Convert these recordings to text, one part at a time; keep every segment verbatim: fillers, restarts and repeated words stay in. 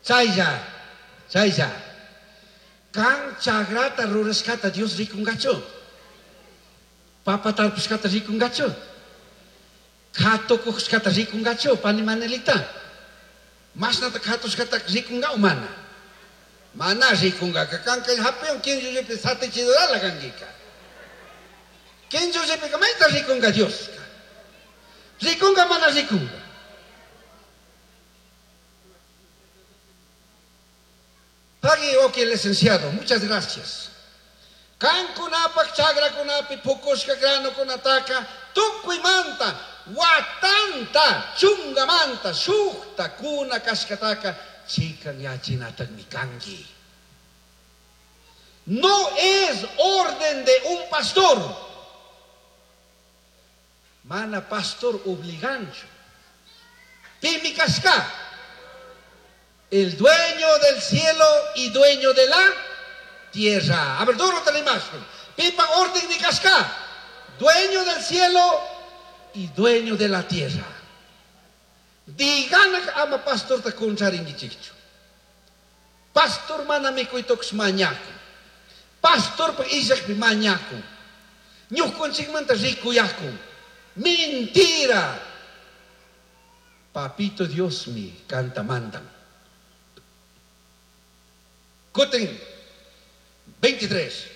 Chaylla, chaylla. Kan chagrata rurashkata Dios rikungachu. Papa tarpushkata rikungachu. Katukushkata rikungachu, pani Manelita. Mashnata katushkata rikunga o mana. Mana rikunga, kanka hapion kinchullipi satichidorala kankika. Kinchullipi mayta rikunga Dios. Rikunga mana rikunga. Pagui, ok, licenciado, muchas gracias. Kankunapak chagrakunapi pukushka granokunataka tukuymanta watanta chungamanta shukta kuna kashkataka chikan yachinatakmi kanki. No es orden de un pastor. Mana pastor obligancho. Pimi kashka. El dueño del cielo y dueño de la tierra. A ver, duro te la imagen. Pipa orden ni casca. Dueño del cielo y dueño de la tierra. Digan ama pastor ta kuncharingichichu. Pastor mana mikuitox mañaco. Pastor pa isakpi mañaco. Ñukunchikmanta rikuyaku. Mentira. Papito Dios mi canta mandan. Kutin veintitrés.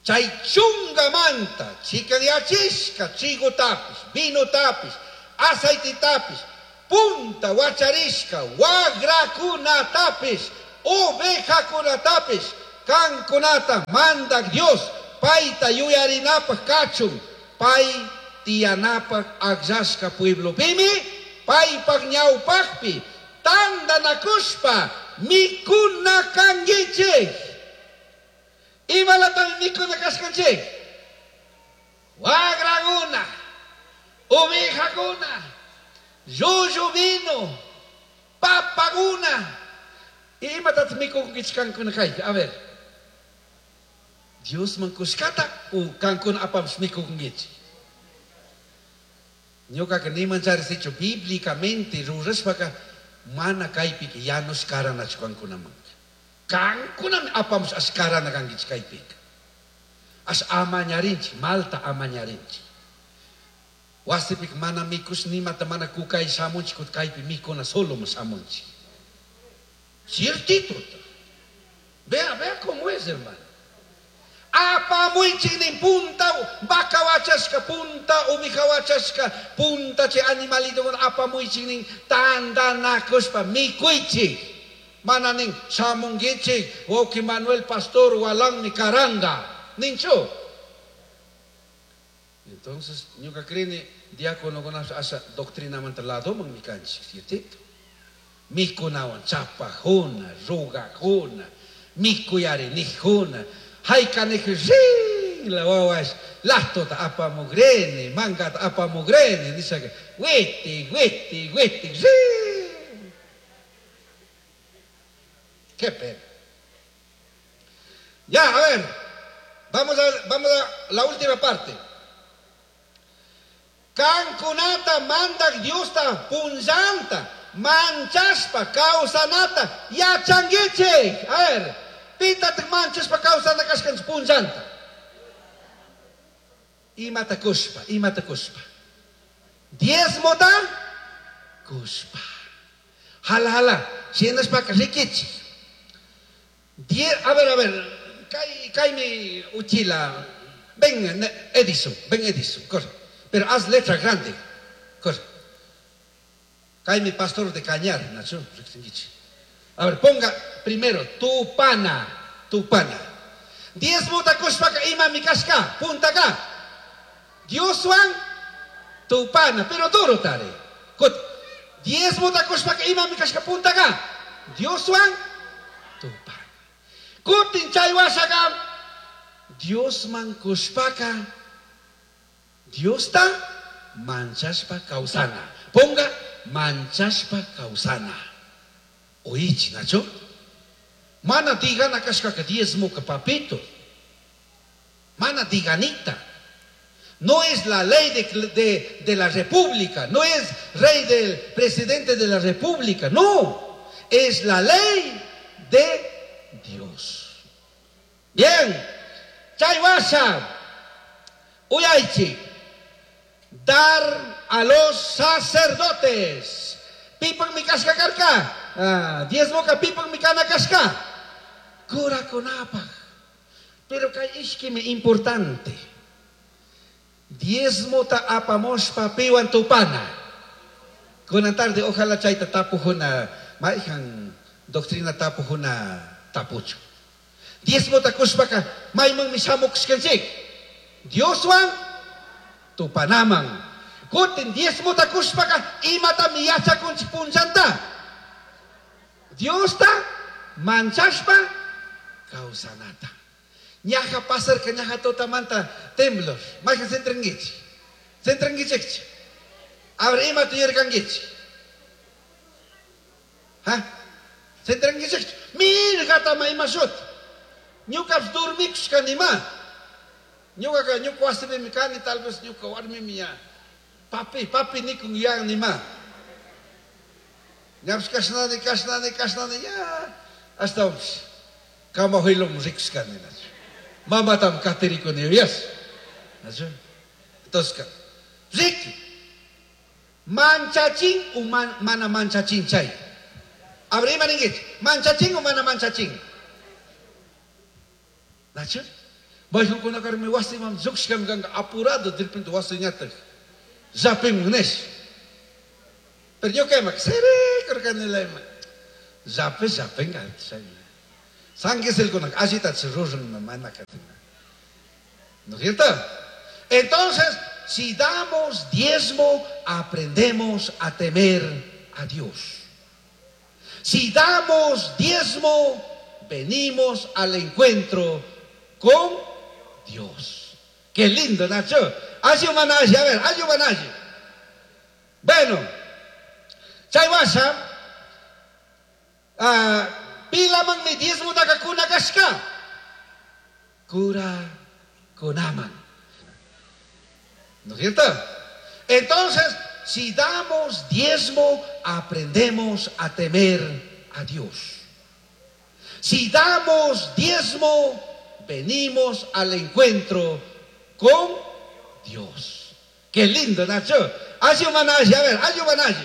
Chay chungamanta, chikanyachishka, trigo tapis, vino tapis, aceite tapis, punta wacharishka, wagrakuna tapis, ovejakuna tapis, kankunata mandak Dios, paita yuyarinapaj kachun, pay tiyanapaj akllashka pueblo pimi, paypaj ñawpajpi, tandanakushpa, mikuna kankichik. Imalatami mikuna kashkanchik. Wagraguna, ovejakuna, llullu vino, papaguna. Imatataq mikunkichik kankuna kaypi? A ver. Diosman kushkata u kankuna apamush mikunkichik. Ñuqaqa nimanchari sichu bíblicamente rurashpaka mana kaypika yanush karanachu kankunamanka. Kankunami apamush ash karana kankichik kaypika. Ash amañarinchik, malta amañarinchik. Wasipika mana mikush nimata mana kukay shamunchik kut kaypi mikuna solo shamunchik. Ciertito. Vea, vea cómo es, hermano. Apamuychik nin punta vaca wachashka, punta oveja wachashka, punta chay animalito apamuychik nin tandanakushpa mikuychik. Mana nin shamunkichik, wawqi Manuel Pastor walanmi karanga. Ninchu. Entonces, ñuka creeni diácono asa doctrinamanta ladoman mikanchik, ciertito. Mikunawan chapajuna, rugajuna, mikuyari nijuna. Haykanej rin la wawash lastota apamugrene, mangata apamugrene, dice witi, witi, witi, rin. Qué pena. Ya, a ver, vamos a, vamos a la última parte. Kankunata mandak Diosta punllanta, manchashpa kawsanata yachankichik. A ver, pitataq manchashpa kawsana kashkanchik punllanta. Imata kushpa, imata kushpa. Diezmota kushpa. Jala, jala, shinashpaka rikichik. Die, a ver, a ver, kay, kaymi uchila. Ven, Edison, ven Edison, corre. Pero haz letra grande, corre. Kaymi pastor de Cañar, Nacho, a ver, ponga primero tu pana, tu pana. Diezmota kushpaka imami kashka, punta acá. Dioswan tu pana, pero duro tare. Diezmota kushpaka imami kashka, punta acá. Dioswan tu pana. Kutin chay washaka, Diosman kushpaka, Diosta manchashpa kawsana. Ponga manchashpa kawsana. Oichi, Nacho. Mana digana kashkaka diezmoka papito. Mana diganita. No es la ley de, de, de la república. No es rey del presidente de la república. No. Es la ley de Dios. Bien. Chay huasha. Uyaichi. Dar a los sacerdotes. Pipajmi cashca carca. Ah, diezmoca pipajmi cana cashca. Curacunapaj. Pero kay ishkimi importante. Diezmota apamushpa piwan tupana. Kunan tarde ojalá chayta tapujuna mayhan doctrina tapujuna tapuchu. Diezmota kushpaka maymanmi shamukushkanchik. Dioswan tupanaman. Kutin diezmota kushpaka imatami yachakunchik punchanta. Diosta manchashpa kawsanata. Ñaja pasarka ñaja tutamanta temblor. Mayhan sentrinkichik. Sentrinkichikchu. A ver, imata yuyarkankichik. Ha? Sentrinkichikchu. Mirgatama ima shuti. Ñukapish dormikushkanima. Ñukaka ñuka wasipimi kani, tal vez ñuka warmimi ya. Papi, papi nikun ya nima. Ñapish kashnani, kashnani, kashnani, ya. Ashtawanpish kamajuylum rikushkani. Mamatam katirikuni yuyas. Entonces, riki. Manchachin o man, mana manchachin chay. Abra ima ninkichik. Manchachin o mana manchachin. Nachu? Mayqankunakarmi wasiman lluqshkami kanka apurado de repente wasiñataq llapimun nish. Pero ñuka ima sirikurkanila ima. Llapi llapinka chayna. San Gisel-kunaka allitachi ruran mana katina. ¿No es cierto? Entonces, si damos diezmo, aprendemos a temer a Dios. Si damos diezmo, venimos al encuentro con Dios. Qué lindo, Nacho. Alli a ver, alli Bueno, chay huasha, uh, pilamanmi diezmotaka kuna kashka. Curakunaman. ¿No es cierto? Entonces, si damos diezmo, aprendemos a temer a Dios. Si damos diezmo, venimos al encuentro con Dios. Qué lindo, Nacho. Alli a ver, alli.